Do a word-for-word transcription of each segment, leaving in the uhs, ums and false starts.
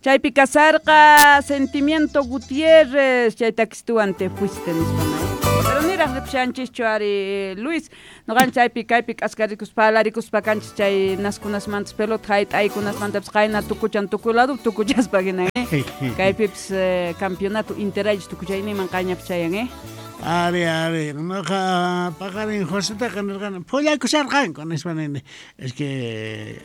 Chaypi kasarqa Sentimiento Gutiérrez, chay takistuwan te fuiste nispa. Pero niraq ripushanchischu ari Luis, noqan chaypi kaypi k'askarikuspa palarikuspa kanchis chay naskunasmantas pelota hayt'aykunasmantapas qayna tukuchan tukuy lado tukuchaspa hina, eh? Kaypipis eh, campeonato interayllus tukuchayninman qayñapi chayan, eh? Ari, ari, noqa paqarin Josetaqa nirqani phullakusharqanku nispa nini. Es que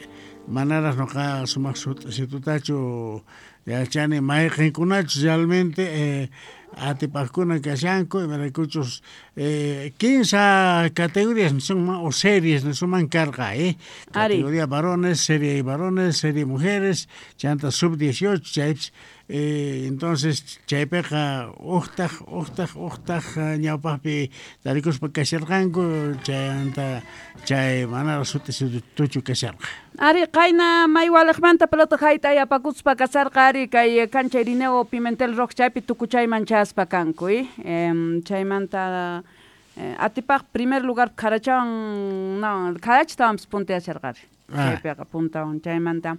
manaraq noqa sumaq sut'isitutachu yachani mayqinkunachus realmente eh, atipaqkuna kashanku, imaraykuchus eh, kinsa categorías nisunman o series nisunman karqa, eh? Ari. Categoría varones, serie varones, serie mujeres, chanta sub dieciocho, chaypis, eh, entonces chaypiqa uqtaq, uqtaq, uqtaq ñawpaqpi tarikuspa kasharqanku, chayanta chay manaraq sut'isituchu kasharqa. Ari, qayna maywaliqmanta pelota hayt'ay apakuspa kasarqa ari kay kancha Irineo Pimentel Rock chaypi tukuchayman chayaspa kanku, eh? Em, chaymanta eh, atipaq primer lugar Karachawan, no, Karachtawanpis punteasharqari. Ah. Chaypiqa puntawan chaymanta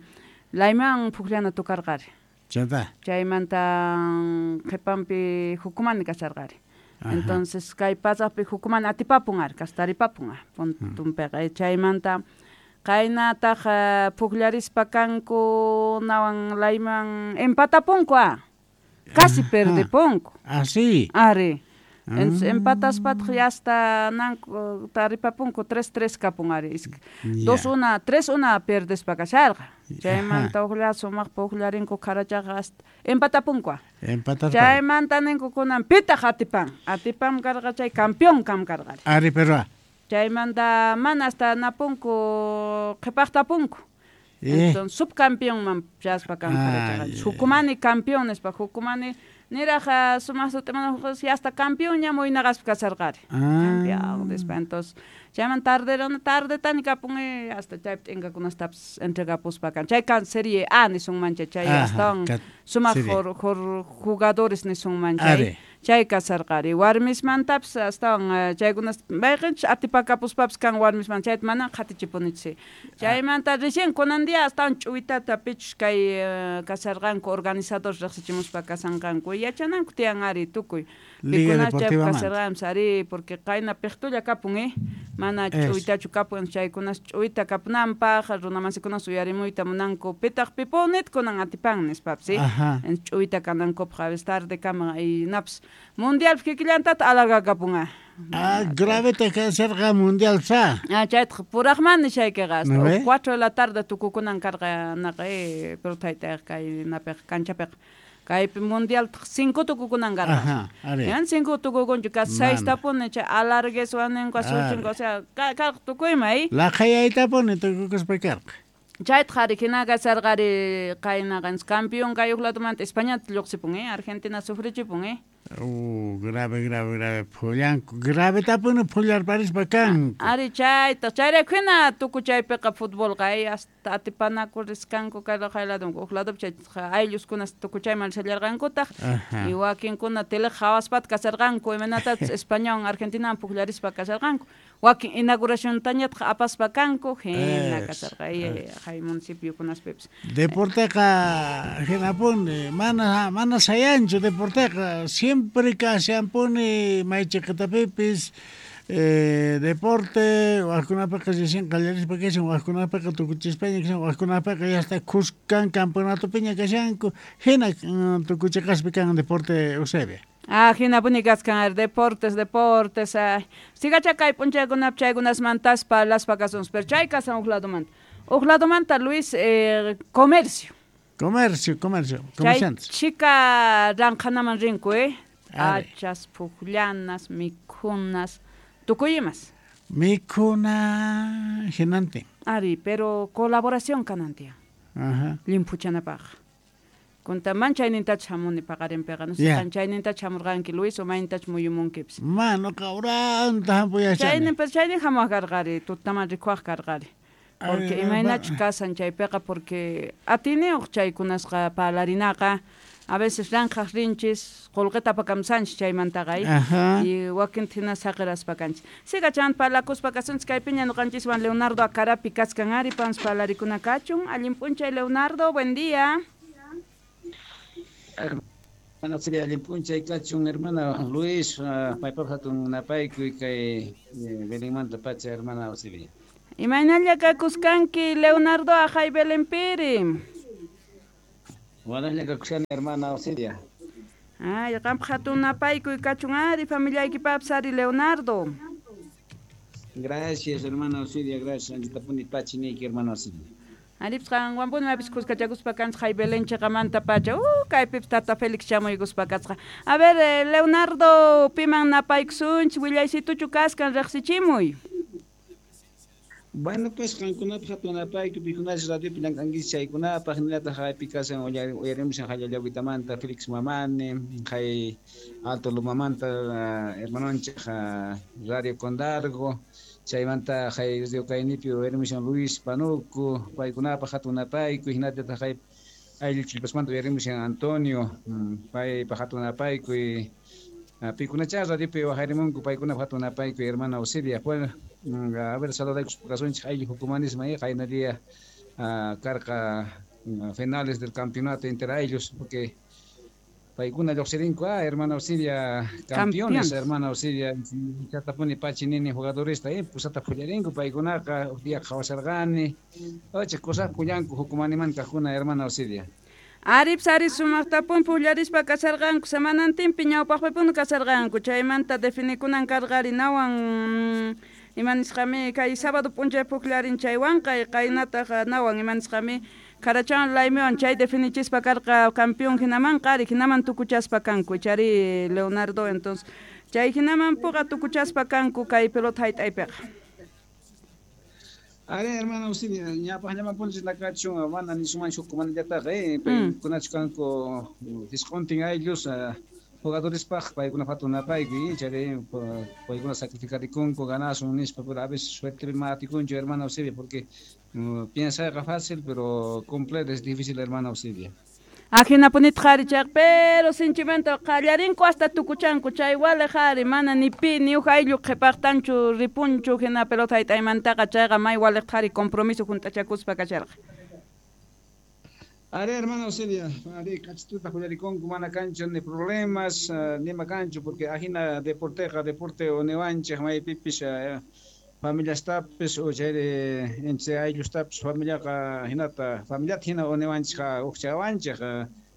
Layman pukllana tukarqari. Chanta. Chaymanta qhipanpi Jucumani kasharqari. Ajá. Entonces kay pasaqpi Jucumani atipapun ari, kastaripapun ari, puntunpiqa. Eh, chaymanta qaynataq eh, pukllarispa kanku nawan Layman empatapunku ah. Casi Ajá. perdipunku. Ah, sí. Ari. Entonces, Ah. empataspataq ya hasta nanku taripapunku tres tres kapun ari. Isk- Ya. Dos una, tres una perdespa kasharqa. Chaymanta Ajá. uqlla sumaq pukllarinku Karachaqa hasta empatapunku. ah. Empataspa. Chaymanta ninku kunan pitaq atipan. Atipan karqa chay campeón kam karqa. Ari, pero Chaymanta mana hasta napunku qhipaqtapunku. Eh. Entonces subcampeón man chaspa kan Ah, Karachaqa. ya. Jucumani campeón nispa Jucumani niraq sumaq sutiman ya hasta campeón ña muynaqaspa kasarqari. Ah. Campeón nispa. Entonces chayman tarderona tardetani kapun eh, hasta chaypi t'inkakunastapis entregapuspa kan. Chay kan Serie A nisunman chay, chay Ajá, astawan kat- sumaq serie. jor, jor jugadores nisunman chay. Ari. Chay kasarqari. Warmismantapis astawan eh, chaykunas mayqinchus atipakapuspapis kan warmisman chayta mana qhatichipunichis. Chaymanta recién kunan día astawan ch'uwitata pichus kay eh, kasarqanku organizadores riqsichimuspa kasanqanku yachananku tiyan ari tukuy. Liga Pikunas chaypi Deportiva manta. kasarqanpis ari porque qayna piqtulla kapun eh mana Es. ch'uwitachu kapun chaykunas ch'uwita kapunanpaq runamasikunas uyarimuyta munanku pitaq pipunit kunan atipan nispapis eh. Ajá. En ch'uwita kanankupaq a veces tarde kama y napis mundial kikillantata alargakapun ah. Ah, grave te kasharqa mundial sa. Ah, chaytaq puraqman nishaykiqa hasta ¿No ve? cuatro de la tarde tukukunan karqa naqa eh, pero taytayqa kay napiqa kanchapiqa. Kaypi mundial cinco tukukunan karqa. Ajá, ari. Yan cinco tukukunchu casi seis Mana. tapuni chay alargueswan ninku asuchinko, Ari. o sea, ka- karqa tukuyma eh. Laqhayaytapuni tukukuspa karqa. Chaytaq ari hina kasarqari qaynaqa campeón kay huk ladomanta Españata lluqsipun eh, Argentina sufrichipun eh. Uh, grave, grave, grave. Phullanku. Grave tapuni phullarparispa kanku. Ari chaytaq chayrayku hina tukuchaypiqa futbolqa eh, hasta atipanaku riskanku kay kay ladonku huk ladopi chay aylluskunas tukuchayman rishallarqankutaq. Ajá. Y wakinkuna teleq hawaspata kasarqanku imaynatachus Españawan Argentinawan pukllarispa kasarqanku. Wakin inauguraciontañataq apaspa kanku hina Es, kasarqa eh, hay municipiokunaspipis. Deporteqa hinapuni mana mana sayanchu deporteqa siempre kashanpuni maychiqitapipis eh, deporte wajkunapiqa recién qallarispa kashan wajkunapiqa tukuchispaña kashan wajkunapiqa ya hasta khuskan campeonatopiña kashanku hina mm, tukuchiqaspi kan deporte Eusebia. Ah, hinapuni kaskan ari deportes, deportes. Ay. Sigacha kay p'unchaykunapi chaykunasmantas parlaspa kasunchis, pero chay kasan huk ladomanta. Huk ladomanta Luis eh, comercio. Comercio, comercio, Chay comerciantes. chika ranqhanaman rinku, eh? Ari. Hachas, pukllanas, mikhunas, tukuy imas. Mikhuna hinantin. Ari, pero colaboración kanan tiyan. Ajá. Llimphuchanapaq. Kunta man chaynintachu hamuni paqarinpiqa, no sé, Ya. qan chaynintachu hamurqanki Luis o maynintachu muyumunkipis. Mano qawranta hampuyachani. Chaynin, pero chaynin hamuq karqari, tutaman rikuaq karqari. Porque Ay, imaynachu ba- kasan chaypiqa porque atiniyuq chaykunasqa parlarinaqa a veces ranqhaq rinchis qullqita apakamsanchis chaymantaqa ay. Ajá. Y wakinta hina saqiraspa kanchis. Siga chan parlakuspa kasunchis kaypiña ñuqanchiswan Leonardo Acarapi kaskan ari pans parlarikuna kachun. Allin p'unchay Leonardo, buen día. Hermana Auxilia, allin p'unchay kachun, hermana Luis, paypaq hatun napaykuy kay Belenmanta pacha, hermana Auxilia. Imaynalla kakuskanki Leonardo ajay Belenpiri. Wanaslla kakushani, hermana Auxilia. Ay, qampaq hatun napaykuy kachun ari familiaykipapis ari Leonardo. Gracias, hermana Auxilia, gracias. Anchitapuni pachi niyki, hermana Auxilia. Aripis qanwanpuni mapis kuskachakuspa kanchik hay Belén chiqamanta pacha. Uh, kaypipis tata Félix chamuykuspa kasqa. A ver, eh, Leonardo, piman napaykusunchik, willaysituchu kaskan riqsichimuy. Bueno, pues qankunapaq hatun napaykuy, pikunachu radiopi llank'ankichik chaykunapaq, hinallataq haypi kasan uyarimushan Hallallawitamanta Félix Mamani, hay Alto Lumamanta hermanonchik Radio Condargo, chaymanta hay Radio Kaynipi uyarimushan Luis Panuco, paykunapaq hatun napaykuy, hinallataq hay ayllu Chillpasmanta uyarimushan Antonio, paypaq hatun napaykuy, pikunacha radiopi waqarimunku paykunapaq hatun napaykuy, hermana Auxilia. Bueno, a ver, saludaykuspa kasunchik ayllu Jukumanisma, qayna día karqa finales del campeonato entre ayllus, porque paykuna lluqsirinku, ah, hermana Auxilia, campeones, hermana Auxilia, chatapuni pachi nini jugadoresta, eh, pusata pullarinku paykunaqa, huk día qhawasharqani, ocha cosas pullanku Jukumanimanta kaqkuna, hermana Auxilia. Aripis ari sumaqtapuni pukllarispa kasarqanku, semanantinpi ñawpaqpipuni kasarqanku, chaymanta definikunan karqa ari nawan ima nisqami kay sábado p'unchay pukllarin chaywanqa, qaynataq nawan ima nisqami Karachan laymiwan chay definichispa karqa campeón hinamanqa ari hinaman tukuchaspa kanku, chari Leonardo, entonces chay hinaman puqa tukuchaspa kanku kay pelota hayt'aypiqa. Ari, hermana Auxilia, ñapaqllaman punchis nakachun, mana nisuman hukkumanallataqa, eh, paykunachu kanku isquntin ayllus jugadorespaq, paykunapaq hatun napaykuy, chayri paykuna sacrificarikunku ganasun nispa, pero a veces suerte mana atikunchu, hermana Auxilia, porque piensayqa fácil, pero cumplir es difícil, hermana Auxilia. Ajinapunitaq ari chayqa, pero sinchimanta qallarinku hasta tukuchanku, chay waliq ari mana ni pi ni huk ayllu qhipaqtanchu ripunchu hina pelota hayt'aymantaqa, chayqa may waliqtaq ari compromiso hunt'achakuspa kasharqa. Ari, hermana Auxilia, ari kachituta hullarikunku, mana kanchu ni problemas, nima kanchu, porque ajina deporteqa, deporte uniwanchik maypipis familiastapis o chayri entre ayllustapis familiaqa hinata, familiata hina uniwanchikqa uqchawanchik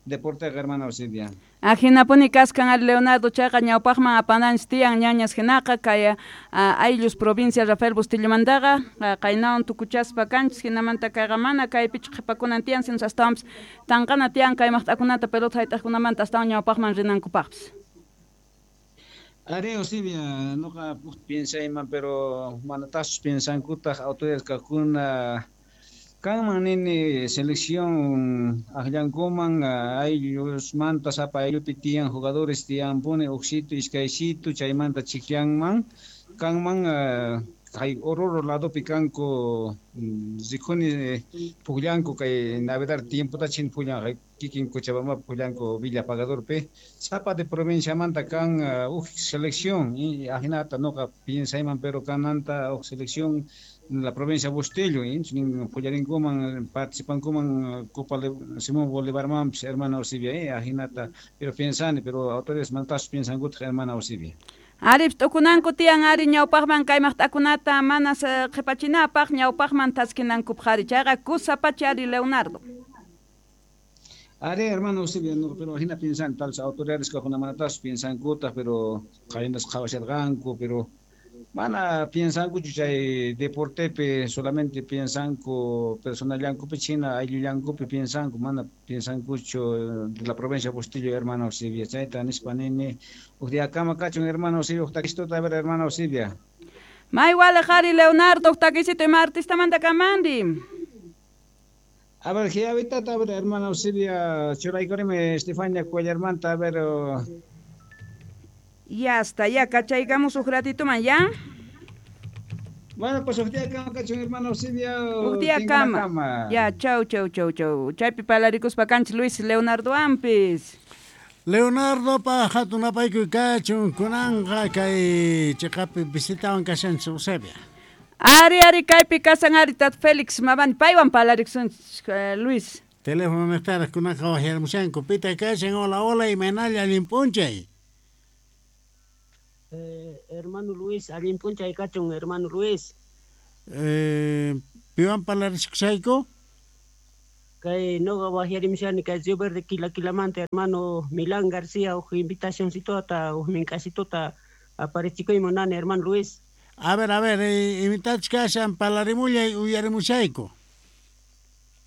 deporteqa, hermana Auxilia. Ajinapuni kaskan ari Leonardo, chayqa ñawpaqman apananchik tiyan ñañas hinaqa kay ayllus provincia Rafael Bustillomantaqa qaynawan tukuchaspa kanchis, hinamanta kayqa mana kaypichu qhipakunan tiyan, sino astawanpis tanqana tiyan kay maqt'akunata pelota hayt'aqkunamanta astawan ñawpaqman rinankupaqpis. Ari, Auxilia, nuqa piensayman, pero manataqchus piensankutaq autoridades kaqkuna kanman nini selección aqllankuman ayllusmanta sapa ayllupi tiyan jugadores tiyanpuni uqsitu iskaysitu chaymanta chiqllanman kanman kay Oruro ladopi kanku rikuni pukllanku kay Navidad tiempota chin pukllan kikin Cochabamba pukllanku Villa Pagadorpi sapa de provinciamanta kan uj selección ajinata nuqa piensayman, pero kananta uj selección la provincia Bustillo, pullarinkuman participankuman Copa Simón Bolívarmanpis, hermana Auxilia, ajinata, pero piensani, pero autoridades mantasus piensankutaq, hermana Auxilia. Aripis t'ukunanku tiyan ari ñawpaqman kay maqt'akunata manas qhipachinapaq ñawpaqman taskinankupaq ari, chayqa kusapachi ari Leonardo. Ari, hermano Auxilia, no, pero hina piensan tal autoridades kaqkuna manatasus piensankutaq, pero qaynas qhawasharqanku, pero mana piensankuchu chay deportepi, solamente piensanku personallankupi china ayllullankupi piensanku, mana piensankuchu de la provincia Bustillo, hermano Auxilia, chayta nispa nini huk diakama kachun, hermano Auxilia, huk takisituta, a ver, hermano Auxilia. May waliq ari Leonardo, huk takisito ima artistamanta kamandi. A ver, giavitata, a ver, hermano Auxilia, churaykurimi Estefania Cuellarmanta, a ver. Ya está, ya cachaygamos un ratito man, ¿ya? Bueno, pues huk día kama kachun, hermano Auxilia. Huk día kama. Ya, chau, chau, chau, chau. Chaypi palarikuspa kanchik Luis Leonardo ampis. Leonardo pa hatun napaykuy kachun kunanqa kay chiqapi visitawan kashanchik Eusebia. Ari, ari, kaypi kasan ari tat Félix Mamani, paywan palarikusunchik, Luis. Teléfono niqtaraq kunaqa waqyarimushanku. Pitaq kashan? Hola, hola, imaynalla allin p'unchay. Eh, hermano Luis, allin p'unchay kachun, hermano Luis. Eh, piwan parlarichkushayku? Kay noqa waqyarimushani kay Río Verde Quilaquilamanta, hermano Milán García, uj invitacioncitota, uj mink'asituta aparichikuy munani, hermano Luis. A ver, a ver, eh, imitachus kashan parlarimullay uyarimushayku.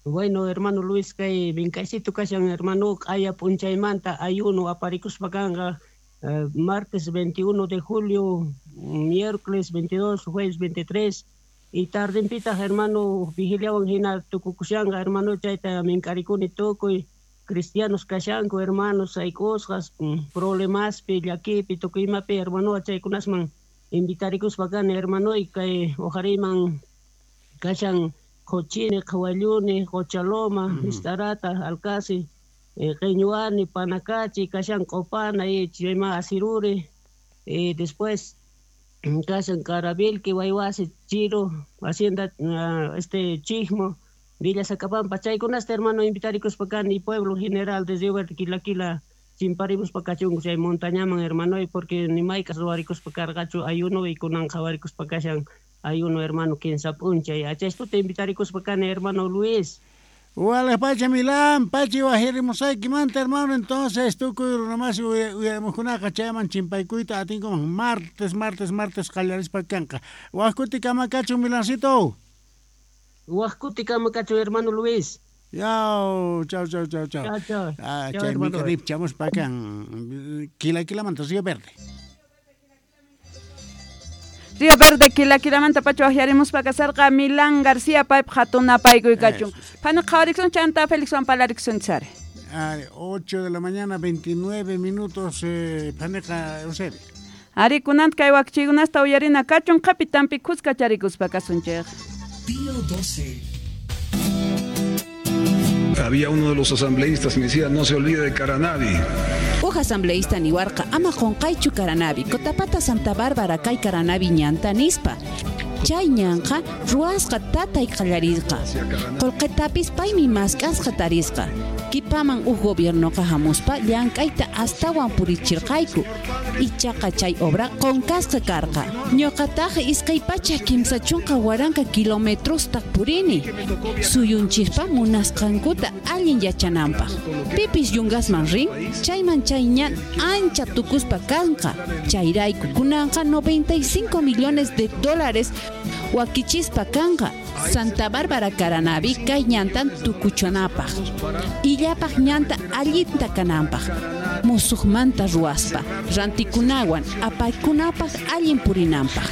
Bueno, hermano Luis, kay mink'asitu kashan, hermano, q'aya p'unchaymanta ayuno aparikuspa kanqa, eh, martes veintiuno de julio, miércoles veintidós, jueves veintitrés, y tardempitaq, hermano, vigiliawan hina tukukushanqa, hermano, chayta mink'arikuni tukuy cristianos kashanku, hermanos, sayk'usqas, problemaspi, llakipi, tukuy imapi, hermano, chaykunasman invitarikuspa kani, hermano, y kay uqariman kashan Qochini, Qhawalluni, Qochaloma, mm -hmm. Mistarata, Alcasi, eh, Qeñuani, Panacachi, kashan Qopana, y chayma Asiruri, y después kashan Carabilqui, Wayhuasi, Chiro, Hacienda, uh, este Chismo, Villa Sacapampa, chaykunasta, hermano, invitarikuspa kani, pueblo general desde Río Verde, Quilaquila, chimparimuspa kachunku chay montañaman, hermano, y porque ni maykas ruwarikuspa karqachu ayuno y kunan qhawarikuspa kashan ayuno, hermano, kinsa p'unchay. Achaystuta invitarikuspa kani, hermano Luis. Wale pacha Milán, pachi waqyarimusaykimanta, hermano, entonces tukuy runamasi uyarimuqkunaqa chayman chimpaykuyta atinkuman martes, martes, martes qallarispa kanqa. Waq kutikama kachun, Milancito. Waq kutikama kachun, hermano Luis. Yau, chau, chau, chau, chau. Chau, chau. Ah, chay mikarip chamuspa kan Quilaquilamanta Río Verde. Río Verde Quilaquilamanta pacha waqyarimuspa kasarqa Milán García paypaq hatun napaykuy kachun. Phani qhawariksun chanta Felixwan parlariksun chari. ocho de la mañana, veintinueve minutos, eh, phaneqa Eusebio. Ari kunanta kay wakchiykunasta uyarina kachun qhapitanpi kuska charikuspa kasunchik. Día doce. Había uno de los asambleístas que me decía, no se olvide de Caranavi. Uj asambleísta niwarqa ama qunqaychu Caranavi, Cotapata Santa Bárbara kay Caranavi ñanta nispa. Chay ñanqa ruwasqa tatay qallarisqa. Qullqitapis paymi mask'asqa tarisqa. Kipaman uj gobiernoqa hamuspa llank'ayta astawan purichirqayku. Ichaqa chay obra qunqasqa karqa. Ñuqataq iskay pachak kimsa chunka waranqa kilometrosta purini. Suyunchikpa munasqankuta allin yachananpaq. Pipis yungasman rin, chayman chay ñan ancha tukuspa kanqa. Chayrayku kunanqa noventa y cinco millones de dólares wakichispa kanqa. Santa Bárbara Caranavi kay ñantan tukuchanapaq. Illapaq ñanta allinta kananpaq. Musuqmanta ruwaspa, rantikunawan apaykunapaq allin purinanpaq.